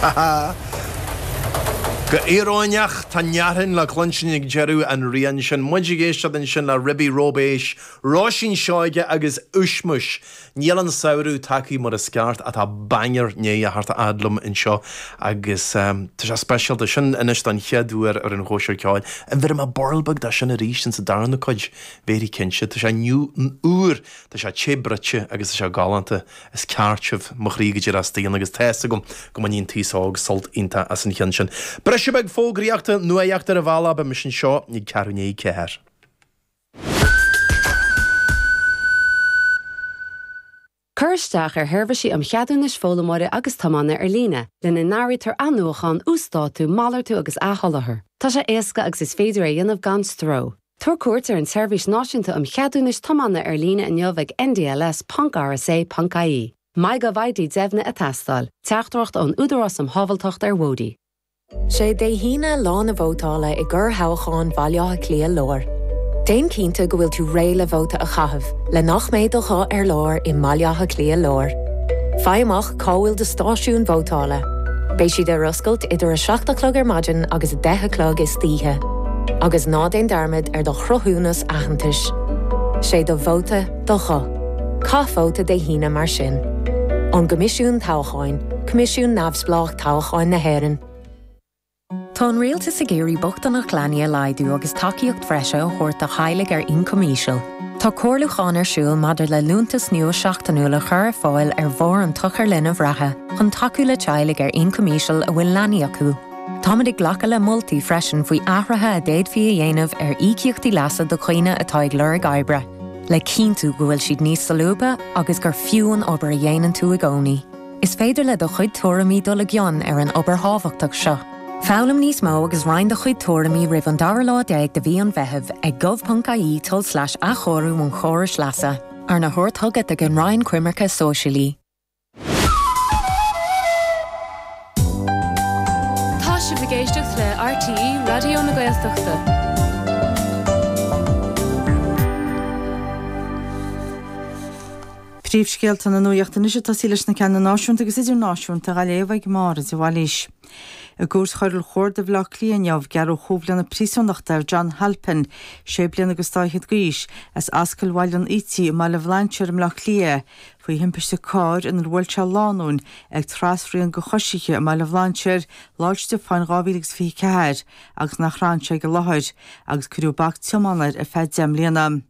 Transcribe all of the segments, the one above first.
Go íoróineach, tá Neachtain le cluinstin ag deireadh an riain sin. Muid ag éisteacht ansin le Ribi Róibéis, Róisín Seoige agus Ushmush. Níl an samhradh tagtha mar is ceart ach tá banger i ndiaidh a theacht a fhad liom anseo agus tá sé speisialta. Sin anois don chéad uair ar an Chóisir Ceoil. An bhféadfaidh mé burl beag de sin arís insa darna cuid? Bhféadfaí cinnte. Tá sé úr, tá sé te bruite agus tá sé galánta. Is ceart sibh, mo chroí go díreach istigh agus tá fhios agam go mbainfidh an t-aos óg sult iontach as an cheann sin. Briseadh beag fógraíochta, nuaíocht ar an bhealach, beidh mise anseo ag ceathrú i ndiaidh 4. Cuir isteach ar sheirbhísí um cheadúnais foghlaimeora agus tiomána ar líne, lena n-áirítear athnuachan, uasdátú, malartú agus athsholáthar. Tá sé éasca agus is féidir é a dhéanamh gan stró. Tabhair cuairt ar an tSeirbhís Náisiúnta um Cheadúnais Tiomána ar líne inniu ag ndls.rsa.ie. MyGovID deimhnithe ag teastáil. Teachtaireacht ón Údarás um Shábháilteacht ar Bhóithre. Sé Dé hAoine lá na vótála i gcorrthoghchán Bhaile Átha Cliath Láir. Déan cinnte go bhfuil tú réidh le vóta a chaitheamh le nach mbeidh do ghuth ar lár i mBaile Átha Cliath Láir. Faigh amach cá bhfuil do stáisiún vótála. Beidh siad ar oscailt idir 7 a chlog ar maidin agus 10 a chlog istoíche. Agus ná déan dearmad ar do chruthúnas aitheantais. Sé do vóta do ghuth. Caith vóta Dé hAoine mar sin. Ón gCoimisiún Toghcháin, Coimisiún Neamhspleách Toghcháin na hÉireann. Tá an Rialtas ag iarraidh bochtaineacht leanaí a laghdú agus tacaíocht bhreise a thabhairt do theaghlaigh ar ioncam íseal. Tá comhairliúchán ar siúl maidir le liúntas nua seachtainiúil a chur ar fáil ar bharr an tSochair Linbh reatha chun tacú le teaghlaigh ar ioncam íseal a bhfuil leanaí acu. Táimid ag glacadh le moltaí freisin faoi athruithe a d'fhéadfaí a dhéanamh ar íocaíochtaí leasa do dhaoine atá ag lorg oibre, le cinntiú go bhfuil siad níos solúbtha agus gur fiú an obair a dhéanann tú i gcónaí. Is féidir le do chuid tuairimí dul i gcion ar an obair thábhachtach seo. Foghlaim níos mó agus roinn do chuid tuairimí roimh an dara lá déag de mhí an Mheithimh ag gov.ie tulslais athchóiriú an chórais leasa, arna thabhairt chugat ag an Roinn Coimirce Sóisialaí. Tá sibh ag éisteacht le RTÉ Raidió na Gaeltachta. Príomhscéalta na nuachta anois ag tosaí leis na ceanna náisiúnta agus idirnáisiúnta á léamh ag Máire de Bhailís. I gCúirt Choiriúil Chuarda Bhaile Átha Cliath inniu, gearradh chúig bhliana príosúnachta ar John Halpin, sé bliana agus dá fhichead d'aois, as Ascaill Bhaile an Ítigh i mBaile Bhlainséir i mBleá Cliath, faoi thimpiste cairr inar bhuail sé lánúin ag trasrian do choisithe i mBaile Bhlainséir Lá 'le Stiofáin 2024 agus nach raibh sé ag an láthair, agus cuireadh bac tiomána air ar feadh 10 mbliana.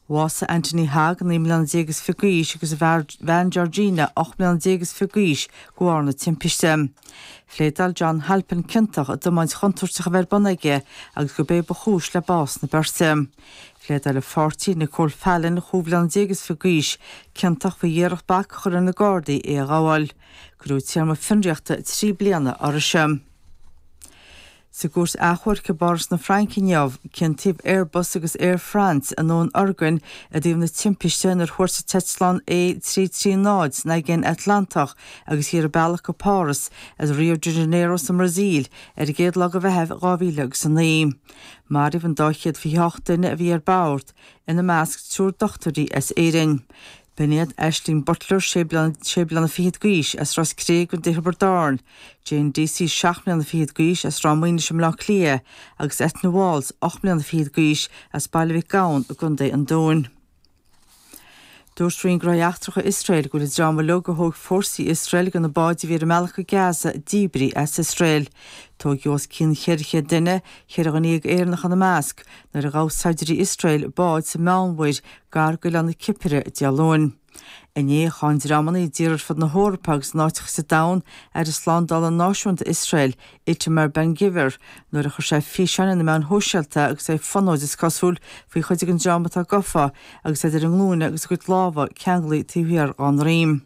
Bhásaigh Anthony Hogg, 19 mbliana is fiche d'aois, agus a bhean Georgina, 18 mbliana is fiche d'aois, de bharr na timpiste. Phléadáil John Halpin ciontach i dtiomáint chontúirteach a bheith ar bun aige agus gurb é ba chúis le bás na beirte. Phléadáil a pháirtí, Nicole Fallon, chúig bhliana déag is fiche d'aois, ciontach faoi iarracht bac a chur ar na Gardaí é a ghabháil. Cuireadh téarma fionraíochta 3 bliana uirthise. Sa gcúirt achomhairc i bPáras na Fraince inniu, ciontaíodh Airbus agus Air France i ndúnorgain i dtaobh na timpiste inar thuairt an t-eitleán A330 san Aigéan Atlantach agus í ar a bealach go Páras as Rio de Janeiro sa mBrasaíl ar an gcéad lá de Mheitheamh 2009. Maraíodh an dá 128 duine a bhí ar bord, ina measc triúr dochtúirí as Éirinn. B'in iad Ashling Butler, sé bliana fichead d'aois, as Ros Cré i gContae Thiobraid Árann, Jane Deasy, seacht mbliana fichead d'aois, as Ráth Maoinis i mBleá Cliath, agus Eithne Walls, ocht mbliana fichead d'aois, as Baile Mhic Gabhann i gContae an Dúin. Dúirt Roinn Gnóthaí Eachtracha Iosrael go bhfuil an dream uilig a thóg fórsaí Iosrael de na báid a bhí ar a mbealach go Gaza díbrithe as Iosrael. Tóigeadh os cionn 400 duine, 14 dhuine Éireannach ina measc, nuair a ghabh saighdiúirí Iosrael bád sa Meánmhuir gar d'oileán na Cipire Dé Luain. Inné, cháin dreamanna i dtíortha ar fud na hEorpa agus in áiteacha sa domhan Aire Slándála Náisiúnta Iosrael, Itamar Ben-Gvir, nuair a chuir sé físeán ar na meáin shóisialta agus é ag fonóid, is cosúil, faoi chuid den dream atá gafa agus iad ar a nglúine agus a gcuid lámha ceanglaithe taobh thiar dá ndroim.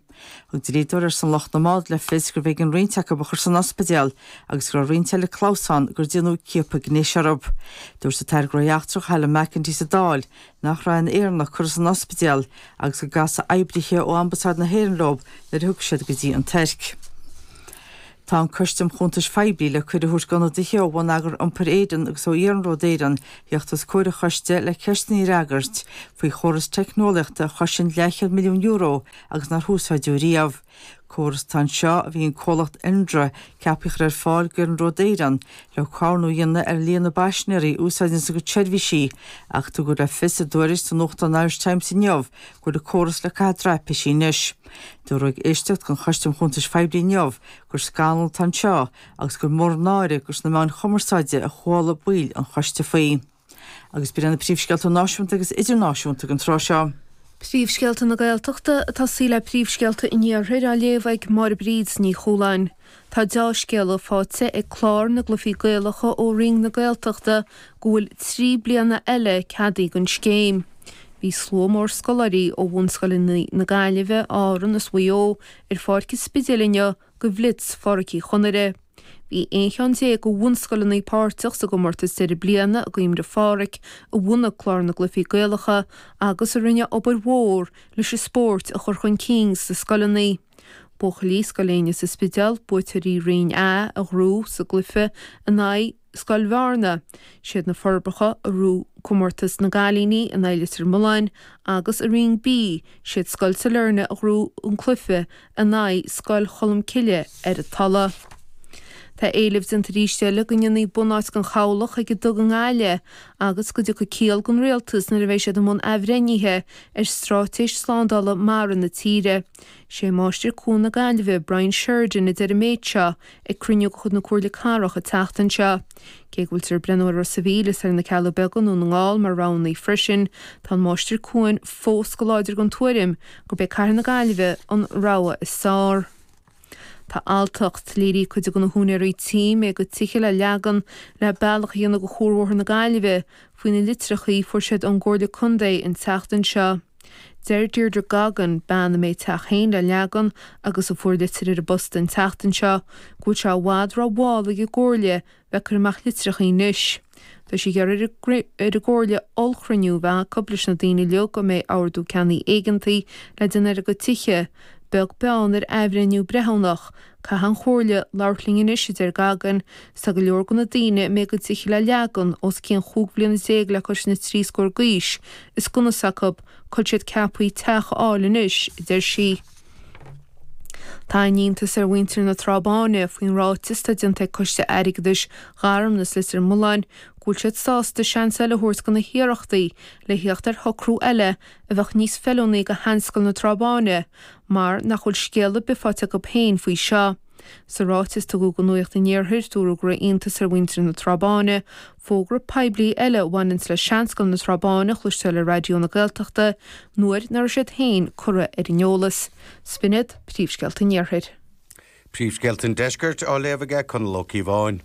Thug dlíodóir ar son lucht na mbád le fios gurbh éigean roinnt acu a chur san ospidéal agus go raibh roinnt eile clamhsán gur déanadh ciapadh gnéis orthu. Dúirt an tAire Gnóthaí Eachtracha Helen McEntee sa Dáil nach raibh aon Éireannach curtha san ospidéal agus go gcasfaidh oibrithe ó Ambasáid na hÉireann leo nuair a thiocfaidh siad go dtí an Tuirc. Tá an Coiste um Chuntais Phoiblí le cuireadh a thabhairt d'ionadaithe ó Bhonneagar Iompair Éireann agus ó Iarnród Éireann theacht os comhair an choiste le ceisteanna a fhreagairt faoi chóras teicneolaíochta a chosain leathchéad €1,000,000 agus nár húsáideadh riamh. Córas atá anseo a bhí an comhlacht Indra ceaptha a chur ar fáil d'Iarnród Éireann le caomhnú a dhéanamh ar líon na bpaisinéirí a úsáideann a gcuid seirbhísí ach tugadh le fios i dtuairisc sa nuachtán Irish Times inniu go bhfuil an córas le caitheamh traipisí anois. Dúradh ag éisteacht den Choiste um Chuntais Phoiblí inniu gur scannal atá anseo agus gur mór an náire gur sna meáin chumarsáide a chuala baill an choiste faoi. Agus b'in iad na príomhscéalta náisiúnta agus idirnáisiúnta ag an tráth seo. Príomhscéalta na Gaeltachta ag tosaí le príomhscéalta an Iarthair á léamh ag Máire Bríd Ní Chualáin. Tá deá-scéala faighte ag Clár na gCluichí Gaelacha ó Roinn na Gaeltachta go bhfuil 3 bliana eile ceadaithe don scéim. Bhí slua mór scoláirí ó bhunscoileanna na Gaillimhe, Árann is Mhaigh Eo ar Pháirc an Spidéil inniu do Bhlitz Phádraic Uí Chonaire. Bhí 11 cheann de bhunscoileanna páirteach sa gcomórtas deireadh bliana i gcuimhne ar Phádhraic a bhunaigh Clár na gCluichí Gaelacha agus a rinne obair mhór leis an spórt a chur chun cinn sna scoileanna. Buachaillí Scoil Éinne sa Spidéal, buaiteoirí Roinn A, a ghnóthaigh sa gcluiche in aghaidh Scoil Bhearna. Siad na Forbacha a ghnóthaigh comórtas na gcailíní in aghaidh Leitir Mealláin agus i Roinn B, siad Scoil Sailearna a ghnóthaigh an cluiche in aghaidh Scoil Cholmcille ar an Tulaigh. Tá éileamh déanta arís eile go ndéanfaí bunáit den chabhlach ag an dTug i nGaillimh agus go dtiocfaidh ciall don rialtas nuair a bheidh siad i mbun athbhreithnithe ar straitéis slándála mara na tíre. Sé Máistir Cuain na Gaillimhe, Brian Sheridan, a deir an méid seo ag cruinniú de chuid na Comhairle Cathrach an tseachtain seo. Cé go bhfuiltear ag breathnú ar Ros a' Mhíl is ar na Cealla Beaga i nDún na nGall mar roghanna freisin, tá an Máistir Cuain fós go láidir den tuairim gurb é Cathair na Gaillimhe an rogha is fearr. Tá alltacht léirithe ag cuid de na húinéirí tí a mbeidh a gcuid tithe le leagan le bealach a dhéanamh do Chuarbhóthar na Gaillimhe faoi na litreacha a fuair siad ón gComhairle Contae an tseachtain seo. Deir Deirdre Goggin, bean a mbeidh a teach féin le leagan agus a fuair litir ar an bpost an tseachtain seo, go bhfuil sé i bhfad ró-mhall ag an gComhairle bheith ag cur amach litreacha anois. Tá sí ag iarraidh ar an gComhairle ollchruinniú a bheith acu leis na daoine uilig a mbeidh ordú ceannaigh éigeantaigh le déanamh ar a gcuid tithe, beag beann ar athbhreithniú breithiúnach. Caithfidh an Chomhairle labhairt linn anois, a deir Goggin, 's tá go leor de na daoine a mbeidh a gcuid tithe le leagan os cionn chúig bhliana déag le cois na dtrí scór d'aois, is gan fhios acu cá bhfuil siad ceaptha teach a fháil anois, a deir sí. Tá an-iontas ar mhuintir na Trá Báine faoin ráiteas atá déanta ag Coiste Airgeadais Gharmna is Leitir Mealláin go bhfuil siad sásta seans eile a thabhairt do na hiarrachtaí le theacht ar shocrú eile a bheadh níos feiliúnaí do Sheanscoil na Trá Báine mar nach bhfuil scéal ar bith faighte acu féin faoi seo. Sa ráiteas a tugadh do Nuacht an Iarthair, dúradh go raibh iontas ar mhuintir na Trá Báine fógra poiblí eile a bhaineanns le Seanscoil na Trá Báine a chloisteáil ar Raidió na Gaeltachta nuair nach raibh siad féin curtha ar an eolas. 'S b'in iad príomhscéalta an Iarthair. Príomhscéalta an Deiscirt á léamh aige Conall Ó Cíobháin.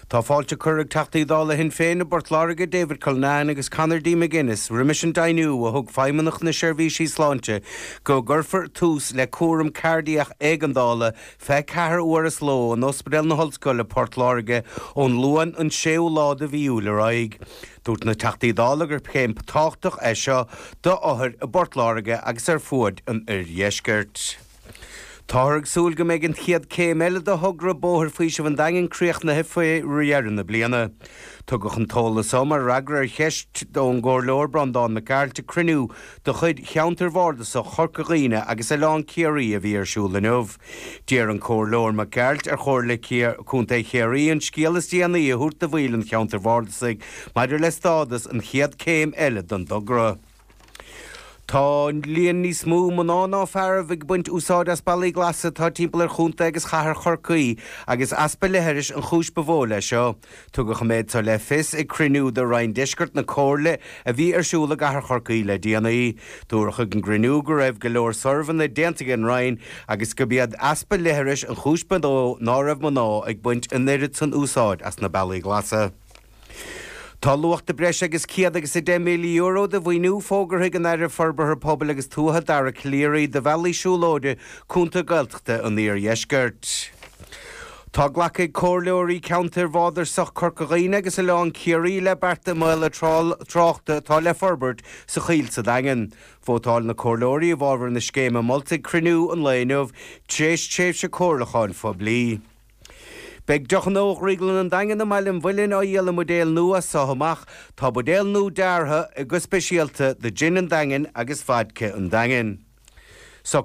Tá fáilte curtha ag Teachtaí Dála Shinn Féin i bPort Láirge, David Cullinane agus Conor D McGuinness, roimis an deimhniú a thug Feidhmeannacht na Seirbhísí Sláinte go gcuirfear tús le cúram cairdiach éigeandála 24 uair sa ló in Ospidéal na hOllscoile, Port Láirge, ón Luan an 6ú lá de mhí Iúil ar aghaidh. Dúirt na Teachtaí Dála gur céim tábhachtach é seo d'othair i bPort Láirge agus ar fuaid an oirdheiscirt. Táthar ag súil go mbeidh an chéad céim eile de thogra Bóthar Faoisimh an Daingin críochnaithe faoi dheireadh na bliana. Tugadh an t-eolas seo mar fhreagra ar cheist ón gComhairleoir Breandán Mac Gearailt ag cruinniú de chuid Cheantar Bhardasach Chorca Dhuibhne agus Oileán Ciarraí a bhí ar siúl inniu. D'iarr an Comhairleoir Mac Gearailt ar Chomhairle Contae Chiarraí an scéal is déanaí a thabhairt do bhaill an cheantair bhardasaigh maidir le stádas an chéad céim eile den dtogra. Tá líon níos mó mná ná fear ag baint úsáid as bealaí glasa atá timpeall ar chontae agus chathair Chorcaí agus easpa leithris an chúis ba mhó leis seo. Tugadh an méid seo le fios ag cruinniú de Roinn Deiscirt na Comhairle a bhí ar siúl i gcathair Chorcaí le déanaí. Dúradh ag an gcruinniú go raibh go leor suirbhéanna déanta ag an Roinn agus gurb iad easpa leithris an chúis ba mhó ná raibh mná ag baint an oiread san úsáid as na bealaí glasa. Tá luach de breis agus €110,000 de mhaoiniú fógartha ag an Aire Forbartha Pobail agus Tuaithe Dara Calleary do bhealaí siúlóide cúnta Gaeltachta an Iardheiscirt. Tá glactha ag comhairleoirí ceantair Bhardasach Corca Dhuibhne agus Oileán Ciarraí le bearta maolaithe tráchta atá le forbairt sa Choill sa Daingean. Vótáil na comhairleoirí i bhfabhar na scéime molta ag cruinniú an lae inniu tar éis tréimhse comhairliúcháin phoiblí. Beidh deochanna ó Dhrioglann an Daingin i mBaile an Mhuilinn á dhíol i mbuidéil nua as so amach. Tá buidéil nua deartha go speisialta do Jin an Daingin agus Vodka an Daingin.